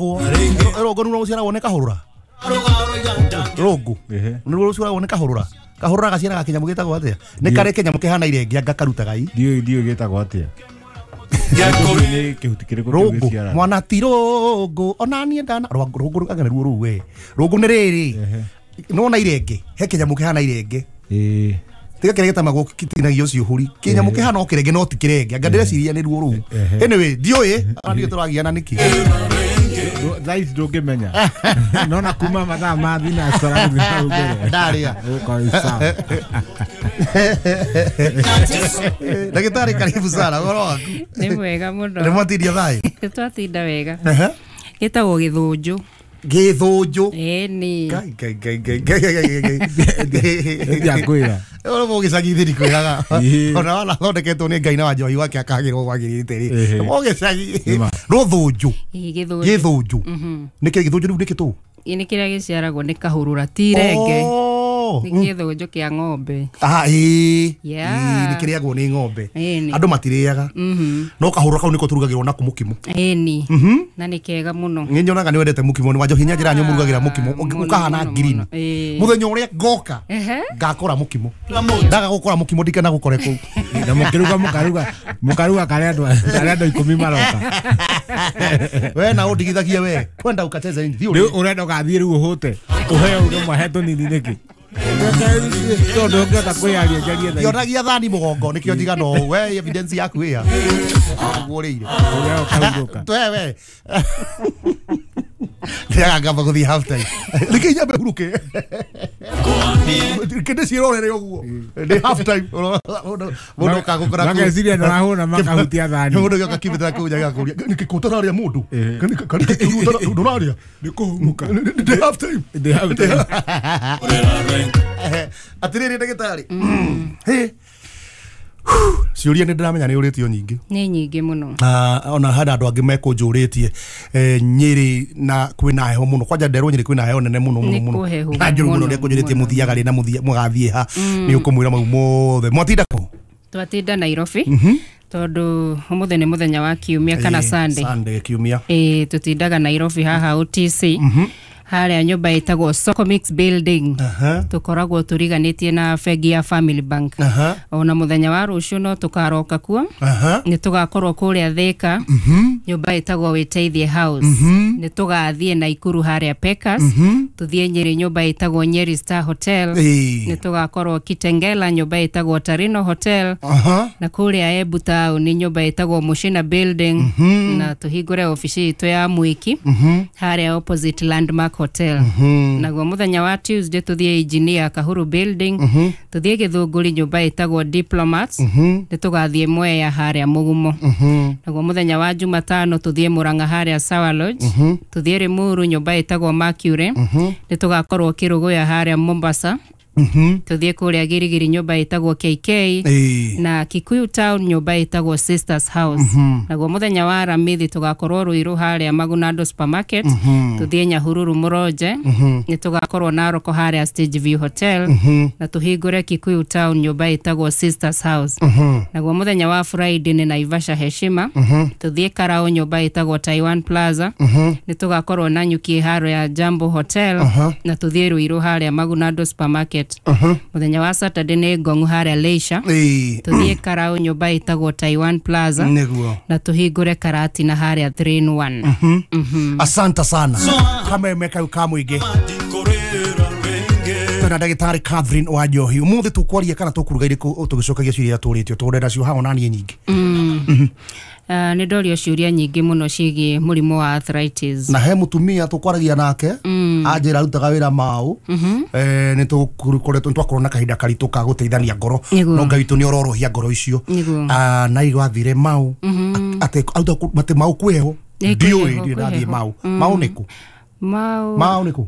Rũngũ nĩ rũciaragwo nĩ kahũrũra. Rũngũ nĩ rũciaragwo nĩ kahũrũra. Kahũrũra gaciaraga kĩnyamũ gĩtagwo atĩa? Nĩ karĩ kĩnyamũ kĩhana irenge anga karutaga i. Ndiũĩ gĩtagwo atĩa. Nĩ kĩhuti kĩrĩkũ kĩu Rũngũ gĩciaraga? mwana ti rũngũ ona niĩ ndana rũngũ anga nĩruo rũu we. Rũngũ nĩ rĩrĩ. Nĩwona irenge he kĩnyamũ kĩhana irenge. Ĩĩ. Tiga kĩrĩa gĩtamagwo gĩtinagio ciũhũri. Kĩnyamũ kĩhana o kĩrenge no ti kĩrenge. Anga ndĩreciria nĩruo rũu. Anyway, ndiũĩ ona ndiũĩ tũragiana nĩkĩ. Thaa ici ndũngĩmenya. Nona kuma mathaa ma thinacara gũthiĩ hau mbere. Ndarĩa. Ũgũkorwo wĩ sawa. Ndagĩtarĩ karibu sana ũhoro waku. Nĩ mwega mũno. Nĩ mwatindia thayũ? Twatinda wega. Ehe. Gĩtagwo gĩthũnjũ. Gĩthũnjũ. Ĩni. Ngai ngai ngai ngai ngai ngai ngai ngai. Ndiakwĩra. Ũrĩa mũgĩcagi thiri kwĩraga. Ĩĩ. Ona wana thondeketwo nĩ Ngai na wa njohi wake akagĩrwo kwagĩrĩte rĩ. Ĩhĩ. Mũgĩcagi. Nĩma. Rũthũnjũ. Ĩĩ, gĩthũnjũ. Gĩthũnjũ. Nĩkĩ gĩthũnjũ rĩu nĩkĩ tũ? Ĩ, nĩ kĩrĩa gĩciaragwo nĩ kahũrũra ti irenge. Oh. Nĩ gĩthũnjũ kĩa ng'ombe. Ah, ĩĩ. Yeah. Ĩĩ, nĩ kĩrĩagwo nĩ ng'ombe. Ĩni. Andũ matirĩaga. No kahũrũra kau nĩko tũrugagĩrwo nako mũkimo. Ĩni. Na nĩ kega mũno. Nĩ nyonaga nĩ wendete mũkimo nĩ wanjohi nyanjĩra nĩ ũmũrugagĩra mũkimo Mũno, ũkahana mũno, green. mũno. Ĩĩ. Mũthenya ũrĩa ngoka Ehe. ngakora mũkimo. Ndaga gũkora mũkimo ndikana gũkore kũu. Na mũkĩruga mũkaruga mũkaruga karĩa andũ 10 maroka. We na ũndigithagie we. Kwenda ukacheza nini? Thiĩ Rĩu ũrĩe. ũrenda ũgathiĩ rĩu ũhũte. Ũheo uge mwahe tũnini nĩkĩ? Tondũ ũngĩhota kwĩyaria njarie thaa ici. Ndionagia thani mũgongo nĩkĩo njigana ũũ. We evidence yaku ĩya. Ũguo ũrĩire. Ũrĩa ũkahurũka. We we. Ndĩraga ngamba gũthiĩ half time. Reke nyambe hurũke. Reke ndĩciĩrorere ũguo. Ndĩ half time. Mũndũ ũkagũkora kũu. Mageciria nĩũrahũna makahutia thani. Mũndũ gĩoka kĩbĩtĩra kũu nja gĩgakũria, nĩkĩ kũ ũtararĩa mũndũ? Nĩkĩ ndũrarĩa? Nĩ kũhurũka. Ndĩ half time. Ndĩ half time. Atĩrĩrĩ ndagĩtarĩ. Hĩ. Ciũria nĩ ndĩramenya nĩ ũrĩtio nyingĩ. Nĩ nyingĩ mũno. Ona hena andũ angĩ mekũnjũrĩtie Nyĩrĩ na kwĩna heho mũno kwanja nderwo Nyĩrĩ kwĩna heho nene mũno mũno Nĩ mũno kũhehu na njũru mũno mũno, ũrĩa kũnjũrĩtie mũno. mũthiaga rĩ na mũgathiĩ ha nĩ ũkũmwĩra mau mothe mwatinda kũ Twatinda Nairobi. Tondũ ũmũthĩ nĩ mũthenya wa kiumia kana Ĩĩ, Sunday. Sunday kiumia Ĩĩ, tũtindaga Nairobi haha OTC. Harĩa nyũmba ĩtagwo Socomix Building. Aha. Tũkoragwo tũriganĩtie na bengi ya Family Bank. Aha. Ona mũthenya wa rũciũ no tũkaroka kuo. Aha. Nĩ tũgakorwo kũrĩa Thika. Nyũmba ĩtagwo Wĩteithie House. Nĩ tũgathiĩ Naikuru harĩa Pekas. Tũthiĩ Nyĩrĩ nyũmba ĩtagwo Nyeri Star Hotel. Ĩĩ. Nĩ tũgakorwo Kitengela nyũmba ĩtagwo Tarino Hotel. Aha. Na kũrĩa Embu town nyũmba ĩtagwo Mushina Building. Na tũhingũre obici itũ ya Mwiki harĩa opposite Landmark Hotel. Naguo mũthenya wa Tuesday tũthiĩ Engineer Kahuru Building. Tũthiĩ Gĩthũngũri nyũmba ĩtagwo Diplomats. Nĩ tũgathiĩ Mwea harĩa Mũgumo. Naguo mũthenya wa Jumatano tũthiĩ Murang'a harĩa Sawa Lodge. Tũthiĩ Limuru nyũmba ĩtagwo Mercury. Nĩ tũgakorwo Kĩrũgũya harĩa Mombasa. Tũthiĩ kũrĩa Girigiri nyũmba ĩtagwo KK. Ĩĩ. Na Kikuyu Town nyũmba ĩtagwo Sisters House. Naguo mũthenya wa Aramithi tũgakorwo Ruiru harĩa Magunando Supermarket. Tũthiĩ Nyahururu Mũronje. Nĩ tũgakorwo Naroko harĩa Stage View Hotel. Na tũhingũre Kikuyu Town nyũmba ĩtagwo Sisters House. Naguo mũthenya wa Friday nĩ Naivasha Heshima. Tũthiĩ Karau nyũmba ĩtagwo Taiwan Plaza. Nĩ tũgakorwo Nanyuki harĩa Jambo Hotel. Na tũthiĩ Ruiru harĩa Magunando Supermarket. Mũthenya wa Saturday nĩ Ngong'u harĩa Leisure. Ĩĩ. Tũthiĩ Karau nyũmba ĩtagwo Taiwan Plaza. Nĩguo. Na tũhingũre Karatina harĩa 3 in 1. Asante sana kameme kau ka mũingĩ twĩna ndagĩtarĩ Catherine wa Njohi ũmũthĩ tũkwaria kana tũkũruga irĩkũ tũgĩcokagia ciũria iria tũrĩtio tũrenda nacio haha ona niĩ nyingĩ Nĩ ndorio ciũria nyingĩ mũno ciĩgiĩ mũrimũ wa arthritis. Na he mũtumia tũkwaragia nake anjĩra arutaga wĩra mau nĩ tũkoretwo twakorwo na kahinda karitũ ka gũteithania ngoro Nĩguo. no Ngai witũ nĩ ororohia ngoro icio. Nĩguo. Ah, na igwathire mau atĩ auta atĩ mau kwĩ heho. Ĩ, kwĩ Ndiũĩ heho, ndirĩ kwĩ ndathiĩ heho. mau mau nĩkũ Mau mau nĩkũ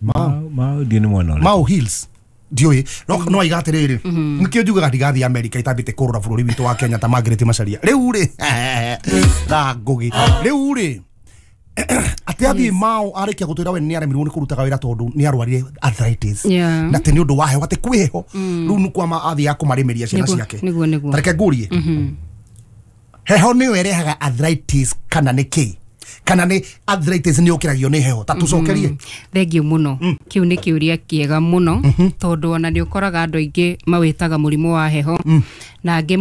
Mau ndiũ nĩ mwena ũrĩkũ? Mau Hills ndiũĩ no no aiga atĩrĩrĩ nĩkĩo njugaga ndigathiĩ America itambĩte kũrora bũrũri witũ wa Kenya ta Margaret Macharia rĩu rĩ na Ngũgĩ rĩu rĩ atĩ athiĩ Mau arĩkia gũtwĩra we nĩ aremirwo nĩ kũrutaga wĩra tondũ nĩ arwarire arthritis Yeah. na atĩ nĩ ũndũ wa heho atĩ kwĩ heho rĩu nĩ kwama athiaga kũmarĩmĩria ciana Nĩguo, ciake. nĩguo, nĩguo. Ta reke ngũrie heho nĩyo ĩrehaga arthritis kana nĩ kĩ? Kana nĩ arthritis nĩ ũkĩragio nĩ heho? Ta tũcokerie. Thengiũ mũno. Kĩu nĩ kĩũria kĩega mũno, tondũ ona nĩ ũkoraga andũ aingĩ mawĩtaga mũrimũ wa heho, na angĩ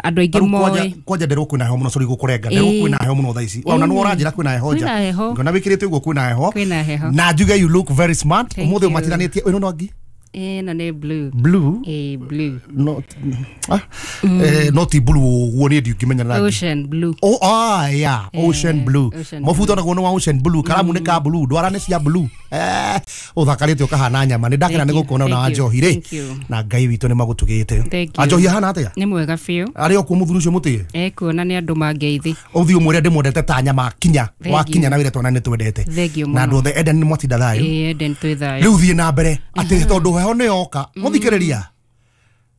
andũ aingĩ Rĩu kwanja moĩ. Kwanja nderwo kwĩna heho mũno, sorry gũkũrenga, nderwo kwĩna heho mũno thaa ici. Ona nĩ ũranjĩra kwĩna heho nja. Kwĩna heho. Ngona wĩkĩrĩte ũguo kwĩna heho. Kwĩna heho. Na njuge you look very smart. Thank Ũmũthĩ you. ũmatiganĩtie ĩno no ngi Ĩno nĩ blue. Blue? Ĩĩ, blue. No, no ti blue ũguo niĩ ndiũngĩmenya rangi. Ocean blue. Oh, ah, yeah, ocean blue. Ocean. Mabuto naguo nĩ wa ocean blue, karamu nĩ ka blue, ndwara nĩ cia blue. Ũthakarĩte ũkahana nyama. Nĩ ndakena Thank nĩ you, gũkuona na thank you, Wanjohi rĩ. thank you. Na Ngai witũ nĩ magũtugĩte. Thank you. Wanjohi ahana atĩa? Nĩ mwega biũ. Arĩ o kuo mũthuri ũcio mũtĩe? Ekuona nĩ andũ mangeithi. Ũthiĩ ũmwĩre ndĩmwendete ta nyama kinya. Thank Wakinya you. na wĩre twana nĩ twendete. Thank you Na mũno. andũ othe Eden nĩ mwatinda thayũ. Ĩĩ, Eden twĩ thayũ. Rĩu thiĩ na mbere atĩ tondũ heho nĩ yoka mũthikĩrĩria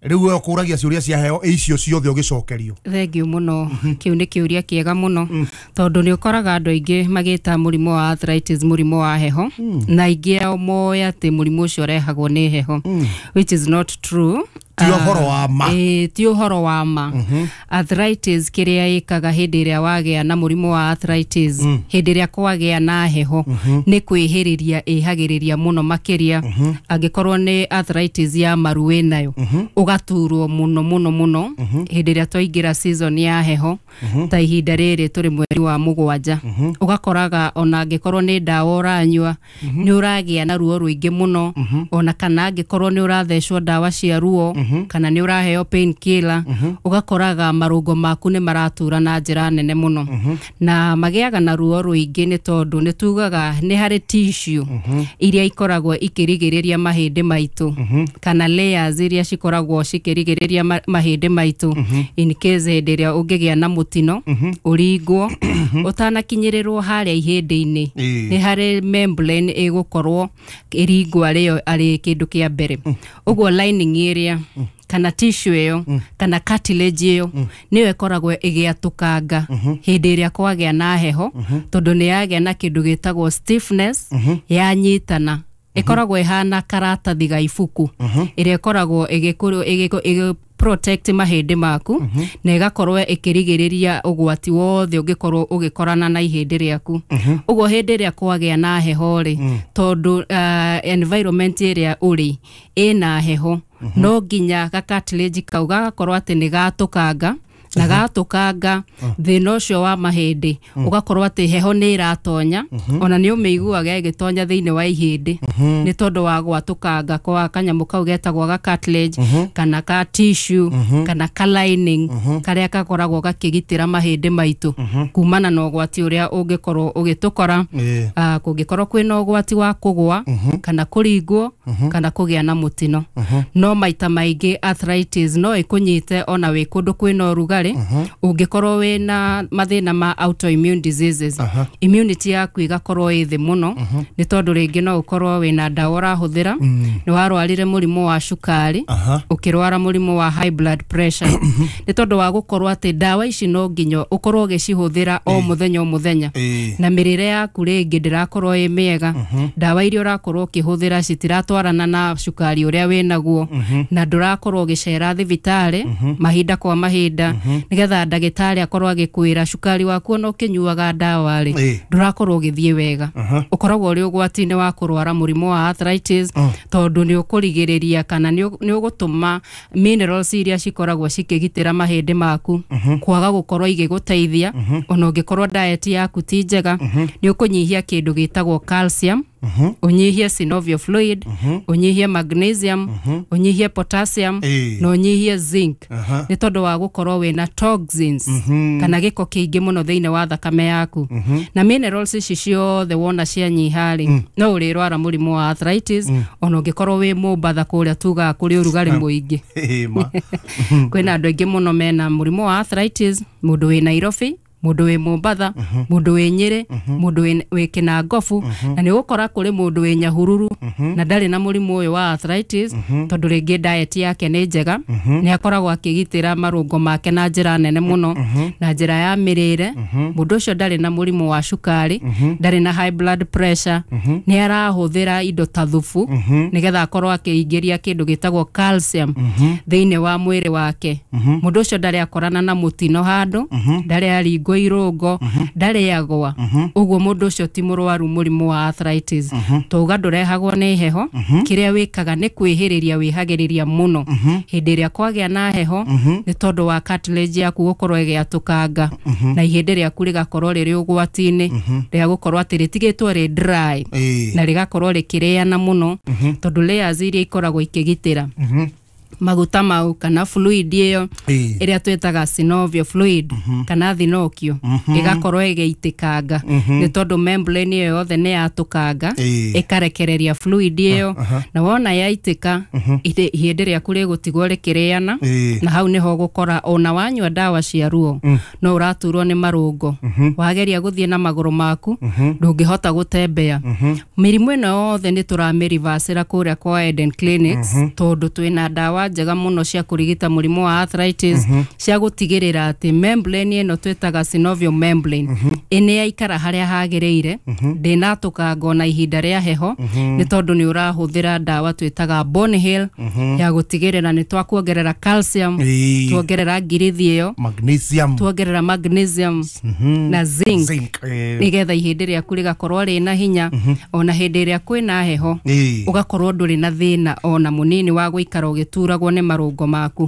rĩu we ũkũragia ciũria cia heho icio ciothe ũgĩcokerio. Thengiũ mũno. Kĩu nĩ kĩũria kĩega mũno, tondũ nĩ ũkoraga andũ aingĩ magĩta mũrimũ wa arthritis mũrimũ wa heho, na aingĩ ao moĩ atĩ mũrimũ ũcio ũrehagwo nĩ heho, which is not true. Ti ũhoro wa ma. Ĩĩ, ti ũhoro wa ma. Arthritis kĩrĩa ĩkaga hĩndĩ ĩrĩa wagĩa na mũrimũ wa arthritis, hĩndĩ ĩrĩa kwagĩa na heho, nĩ kwĩhĩrĩria ĩhagĩrĩria mũno makĩria. Angĩkorwo nĩ arthritis ya maru wĩnayo, ũgaturwo mũno mũno mũno hĩndĩ ĩrĩa twaingĩra season ya heho, ta ihinda rĩrĩ tũrĩ mweri wa 7. Ũgakoraga ona angĩkorwo nĩ ndawa ũranyua, nĩ ũragĩa na ruo rũingĩ mũno, ona kana angĩkorwo nĩ ũrathecwo ndawa cia ruo, kana nĩ ũraheo pain killer, ũgakoraga marũngo maku nĩ maratura na njĩra nene mũno, na magĩaga na ruo rũingĩ, nĩ tondũ nĩ tugaga nĩ harĩ tissue iria ikoragwo ikĩrigĩrĩria mahĩndĩ maitũ, kana layers iria cikoragwo cikĩrigĩrĩria mahĩndĩ maitũ, in case hĩndĩ ĩrĩa ũngĩgĩa na mũtino ũringwo ũtanakinyĩrĩrwo harĩa ihĩndĩ-inĩ, nĩ harĩ membrane ĩgũkorwo ĩringwo arĩyo arĩ kĩndũ kĩa mbere. Ũguo lining ĩrĩa kana tissue ĩyo kana cartilage ĩyo nĩyo ĩkoragwo ĩgĩatũkanga hĩndĩ ĩrĩa kwagĩa na heho, tondũ nĩ yagĩa na kĩndũ gĩtagwo stiffness, yanyitana, ĩkoragwo ĩhana karatathi ga ibuku ĩrĩa ĩkoragwo ĩgĩ protect mahĩndĩ maku, na ĩgakorwo ĩkĩrigĩrĩria ũgwati wothe ũngĩkorwo ũgĩkorana na ihĩndĩ rĩaku. Ũguo hĩndĩ ĩrĩa kwagĩa na heho rĩ, tondũ environment ĩrĩa ũrĩ ĩna heho, no nginya ga cartilage kau gagakorwo atĩ nĩ gatũkanga, na gatũkanga thĩna ũcio wa mahĩndĩ ũgakorwo atĩ heho nĩ ĩratonya, ona nĩ ũmĩiguaga ĩgĩtonya thĩinĩ wa ihĩndĩ, nĩ tondũ wa gwatũkanga kwa kanyamũ kau getagwo ga cartilage, kana ka tissue, kana ka lining karĩa gakoragwo gakĩgitĩra mahĩndĩ maitũ kumana na ũgwati ũrĩa ũngĩkorwo ũgĩtũkora, kũngĩkorwo kwĩna ũgwati wa kũgwa kana kũringwo kana kũgĩa na mũtino. No maita maingĩ arthritis no ĩkũnyite ona wĩ kũndũ kwĩna ũrugarĩ, ũngĩkorwo wĩna mathĩna ma autoimmune diseases, immunity yaku ĩgakorwo ĩ thĩ mũno, nĩ tondũ rĩngĩ no ũkorwo wĩna ndawa ũrahũthĩra, nĩ warwarire mũrimũ wa cukari, ũkĩrwara mũrimũ wa high blood pressure, nĩ tondũ wa gũkorwo atĩ ndawa ici no nginya ũkorwo ũgĩcihũthĩra o mũthenya o mũthenya, na mĩrĩre yaku rĩngĩ ndĩrakorwo ĩ mĩega, ndawa iria ũrakorwo ũkĩhũthĩra citiratwarana na cukari ũrĩa wĩnaguo, na ndũrakorwo ũgĩcera thibitarĩ mahinda kwa mahinda nĩgetha ndagĩtarĩ akorwo agĩkwĩra cukari waku ona ũkĩnyuaga ndawa rĩ, ndũrakorwo ũgĩthiĩ wega. Ũkoragwo ũrĩ ũgwati-inĩ wa kũrwara mũrimũ wa arthritis, tondũ nĩ ũkũrigĩrĩria kana nĩ ũgũtũma minerals iria cikoragwo cikĩgitĩra mahĩndĩ maku kwaga gũkorwo igĩgũteithia. Ona ũngĩkorwo diet yaku ti njega, nĩ ũkũnyihia kĩndũ gĩtagwo calcium, ũnyihie synovial fluid, ũnyihie magnesium, ũnyihie potassium, na ũnyihie zinc, nĩ tondũ wa gũkorwo wĩna toxins kana gĩko kĩingĩ mũno thĩinĩ wa thakame yaku. Na minerals ici ciothe wona cianyiha rĩ, no ũrĩrwara mũrimũ wa arthritis, ona ũngĩkorwo wĩ Mombatha kũrĩa tugaga kũrĩ ũrugarĩ mũingĩ. Kwĩna andũ aingĩ mũno mena mũrimũ wa arthritis, mũndũ wĩ Nairobi, mũndũ wĩ Mombatha, mũndũ wĩ Nyĩrĩ, mũndũ wĩ Kĩnangobu, na nĩ ũgũkora kũrĩ mũndũ wĩ Nyahururu na ndarĩ na mũrimũ ũyũ wa arthritis, tondũ rĩngĩ diet yake nĩ njega, nĩ akoragwo akĩgitĩra marũngo make na njĩra nene mũno, na njĩra ya mĩrĩre. Mũndũ ũcio ndarĩ na mũrimũ wa cukari, ndarĩ na high blood pressure, nĩ arahũthĩra indo ta thubu nĩgetha akorwo akĩingĩria kĩndũ gĩtagwo calcium thĩinĩ wa mwĩrĩ wake. Mũndũ ũcio ndarĩ akorana na mũtino handũ, ndarĩ aringwo akĩringwo irũngo ndarĩagwa ũguo mũndũ ũcio ti mũrwaru mũrimũ wa arthritis. Twauga ndũrehagwo nĩ heho, kĩrĩa wĩkaga nĩ kwĩhĩrĩria wĩhagĩrĩria mũno hĩndĩ ĩrĩa kwagĩa na heho, nĩ tondũ wa cartilage yaku gũkorwo ĩgĩatũkanga na ihĩndĩ rĩaku rĩgakorwo rĩrĩ ũgwati-inĩ rĩa gũkorwo atĩ rĩtigĩtwo rĩ dry na rĩgakorwo rĩkĩrĩana mũno, tondũ layers iria ikoragwo ikĩgitĩra maguta mau kana fluid ĩyo ĩrĩa twĩtaga synovial fluid kana thinokio ĩgakorwo ĩgĩitĩkanga, nĩ tondũ membrane ĩyo yothe nĩ yatũkanga ĩkarekereria fluid ĩyo, na wona yaitĩka ihĩndĩ rĩaku rĩgũtigwo rĩkĩrĩana, na hau nĩho ũgũkora ona wanyua ndawa cia ruo no ũraturwo nĩ marũngo, wageria gũthiĩ na magũrũ maku ndũngĩhota gũtembea. Mĩrimũ ĩno yothe nĩ tũramĩrivacĩra kũrĩa kwa Eden Clinics, tondũ twĩna ndawa njega mũno cia kũrigita mũrimũ wa arthritis, cia gũtigĩrĩra atĩ membrane ĩno twĩtaga synovial membrane ĩnĩ yaikara harĩa hagĩrĩire, ndĩnatũkanga ona ihinda rĩa heho, nĩ tondũ nĩ ũrahũthĩra ndawa twĩtaga Bone Heal ya gũtigĩrĩra nĩ twakuongerera calcium, tuongerera ngirithi ĩyo, magnesium, tuongerera magnesium na zinc, nĩgetha ihĩndĩ rĩaku rĩgakorwo rĩna hinya ona hĩndĩ ĩrĩa kwĩna heho, ũgakorwo ndũrĩ na thĩna ona mũnini wa gũikara ũgĩturagwo nĩ marũngo maku,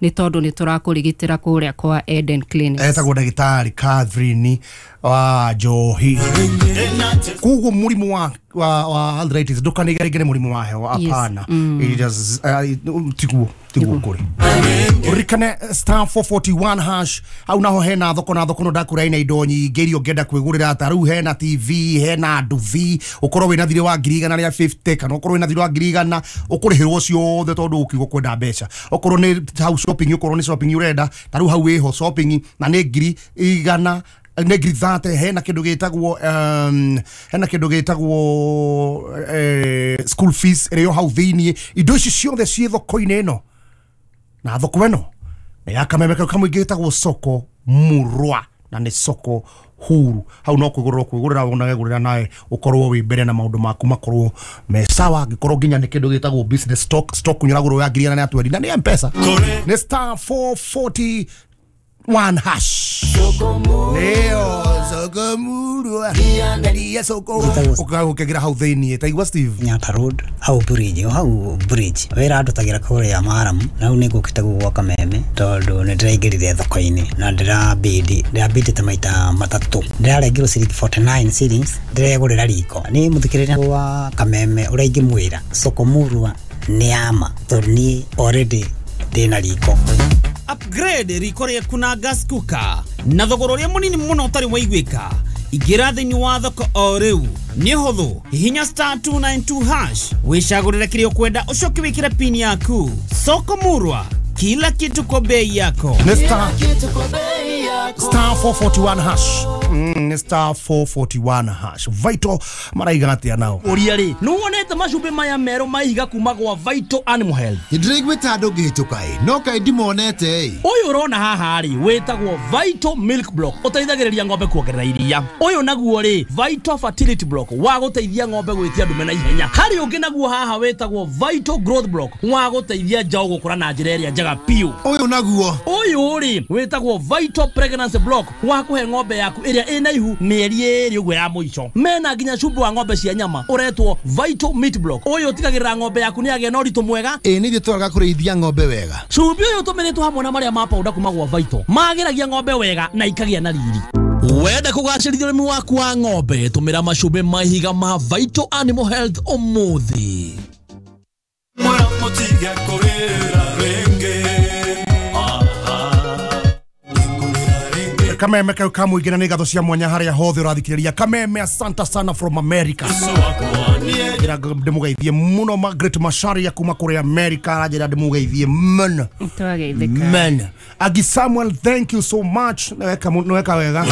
nĩ tondũ nĩ tũrakũrigitĩra kũrĩa kwa Eden Clinics. Etagwo ndagĩtarĩ Catherine wa Njohi. Koguo mũrimũ wa arthritis ndũkanigerigere mũrimũ wa heho, hapana. It is tiguo kũrĩ. Ũririkane star 441 hash hau naho hena thoko, na thoko no ndakũra ina indo nyingĩ iria ũngĩenda kwĩgũrĩra, ta rĩu hena TV, hena nduthi, ũkorwo wĩna thirĩ wa 150 kana ũkorwo wĩna thirĩ wa 100,000 ũkũrĩhĩrwo ciothe tondũ ũkiuga kwenda mbeca. Okorwo nĩ hau shopping, ũkorwo nĩ shopping ũrenda, ta rĩu hau wĩho shopping na nĩ 100,000 nĩ 30,000, hena kĩndũ gĩtagwo hena kĩndũ gĩtagwo school fees ĩrĩa hau thĩiniĩ. Indo ici ciothe ciĩ thoko-inĩ ĩno, na thoko ĩno nĩ ya kameme kau kamwe gĩtagwo soko murwa, na nĩ soko huru. Hau no kwĩgũrĩra kwĩgũrĩra ũnagegũrĩra nawe ũkorwo wĩ mbere na maũndũ maku makorwo me sawa. Angĩkorwo nginya nĩ kĩndũ gĩtagwo business stock ũnyũragũrwo ya 120,000 na nĩ M-Pesa, nĩ star 441 hash. Neo soko murwa ndaria soko ũkagira hau thĩiniĩ. Taigua Steve Nyata Road hau bridge, hau bridge wĩra andũtagĩra kũrĩa Maramu, na hau nĩ ngũkĩte gwa Kameme tondũ nĩ ndĩraingĩrire thoko-inĩ na ndĩrabindĩte maita matatũ, ndĩrarengirwo ciringi 49 shillings, ndĩregũrĩra riko. Nĩ mũthikĩrĩria wa Kameme ũrĩa ingĩmwĩra soko murwa nĩ ama, tondũ niĩ already ndĩna riko. Upgrade riko rĩaku na gas cooker na thogora ũrĩa mũnini mũno ũtarĩ waiguĩka. Ingĩra thĩinĩ wa thoko o rĩu, nĩ hũthũ, hihinya star 292 hash wĩcagũrĩre kĩrĩa ũkwenda, ũcoke wĩkĩre pin yaku. Soko murwa, kila kitu kwa bei yako. Nĩ star 441 hash. Nĩ star 441 hash. Vital maraiga atĩa nao? Ũria rĩ, nĩ wonete macumbĩ maya merũ maiga kuma gwa Vital Animal Health? Ndĩraiguĩte andũ ngĩhĩtũka ĩ, no kaĩ ndimonete ĩ. Ũyũ ũrona haha rĩ wĩtagwo Vital Milk Block, ũteithagĩrĩria ng'ombe kuongerera iria. Ũyũ naguo rĩ Vital Fertility Block, wa gũteithia ng'ombe gwĩtia ndume na ihenya. Harĩ ũngĩ naguo haha wĩtagwo Vital Growth Block, wa gũteithia njaũ gũkũra na njĩra ĩrĩa njega biũ. Ũyũ naguo, ũyũ rĩ wĩtagwo Vital Pregnancy Block, wa kũhe ng'ombe yaku ĩrĩa ĩna ihu mĩeri ĩrĩ ũguo ya mũico. Mena nginya cumbĩ wa ng'ombe cia nyama ũretwo Vital Meat Block. Ũyũ ũtigagĩrĩra ng'ombe yaku nĩ yagĩa na ũritũ mwega. Ĩ nĩ ithuĩ twagaga kũrĩithia ng'ombe wega. Cumbĩ ũyũ ũtũmĩrĩtwo hamwe na marĩa ma powder kuma gwa Vital magĩragia ng'ombe wega na ikagĩa na riri. Wenda kũgacĩrithia ũrĩmi waku wa ng'ombe, tũmĩra macumbĩ ma ihiga ma Vital Animal Health ũmũthĩ. Kameme kau kamũingĩ na nĩ ngatho cia mwanya harĩa hothe ũrathikĩrĩria Kameme. Asante sana from America. Njĩra ndĩmũgeithie mũno Margaret Macharia kuma kũrĩa America, aranjĩra ndĩmũgeithie mũno. Twageithĩka. Man. Agi Samuel, thank you so much. Nĩweka wega.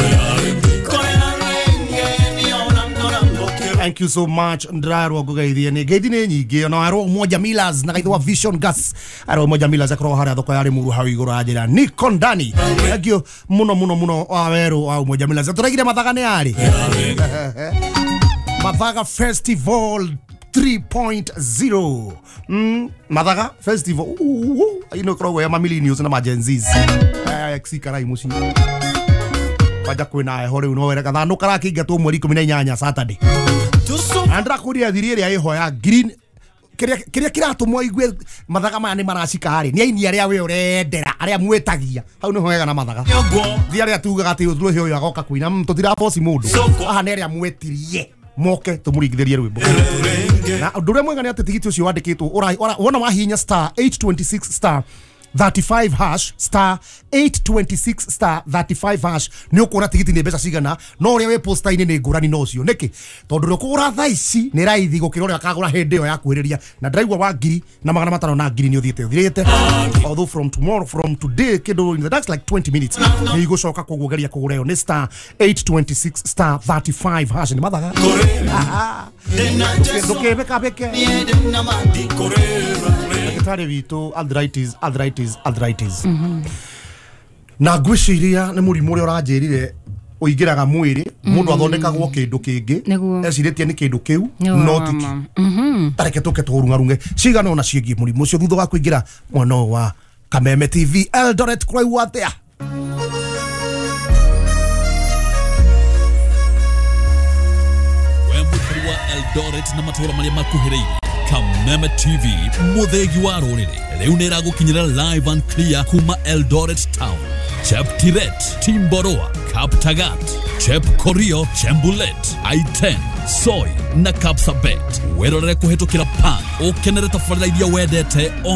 Thank you so much. Ndirarwo ngugeithie ni ngeithi ni nyingĩ ona arwo Umoja Millers na gaithwa Vision Gas. Arwo Umoja Millers akorwo haria thoko ya Limuru hau iguru anjira niko ndani. Thank you muno muno muno wa weru wa Umoja Millers. Turaigire Mathaga ni ari Mathaga Festival 3.0. Mathaga Festival. Ino koragwo ya mamillennials na ma Gen Zs. Aya xikarai muci. Kwanja kwĩna heho rĩu no were gathanũ karakĩingatwo mweri 18 Saturday. Andra kũria thiri ĩrĩa ĩho ya green kĩrĩa kĩratũmwo igue mathaga maya nĩ maracika rĩ nĩ aini arĩa we ũrendera arĩa mwĩtagia hau nĩho wega na mathaga thi arĩa tugaga atĩ ũthũhe ũyũ agoka kũina tũtiraboci mũndũ haha nĩ arĩa mwetirie moke tũmũringithĩrie rwĩmbo na ũndũ ũrĩa mwega nĩ atĩ tigiti ũcio wandĩkĩtwo wona wahihinya star 826 star 35 hash star 826 star 35 hash nä å kuona tigiti nä mbeca cigana no å rä a wä posta-inä nä ngårani na å cio nä kä tondå rä å kå gå ra thaa ici nä raithi gå kä ra å rä a akagå ra hä ndä ä yo ya kwä rä ria na ndĩraigua wa 1500 na 1000 nä å thiä te å thirä te although from tomorrow from today kä in the next like 20 minutes nä igå coka koguo geria kå gå ra ä yo nä star 826 star 35 hash nä mathaga ndå kä beka beke ndagĩtarĩ witũ arthritis arthritis arthritis na ngwĩciria nĩ mũrimũ ũrĩa ũranjĩrire ũingĩraga mwĩrĩ mũndũ athondekagwo kĩndũ kĩngĩ ecirĩtie nĩ kĩndũ kĩu no ti kĩu tareke tũke tũrung'arung'e cigana ona ciĩgiĩ mũrimũ ũcio thutha wa kũingĩra mwena ũyũ wa Kameme TV Eldoret kũraigua atĩa we mũikari wa Eldoret na matũũra marĩa makuhĩrĩirie Kameme TV muthegi wa rũrĩrĩ rĩu nĩ ĩragũkinyĩra live and clear kuma Eldoret Town, Cheptiret, Timboroa, Kaptagat, Chepkorio, Chembulet, I10, Soi na Kapsabet. Wĩrorere kũhĩtũkĩra Pan ũkenere tabarĩra iria wendete o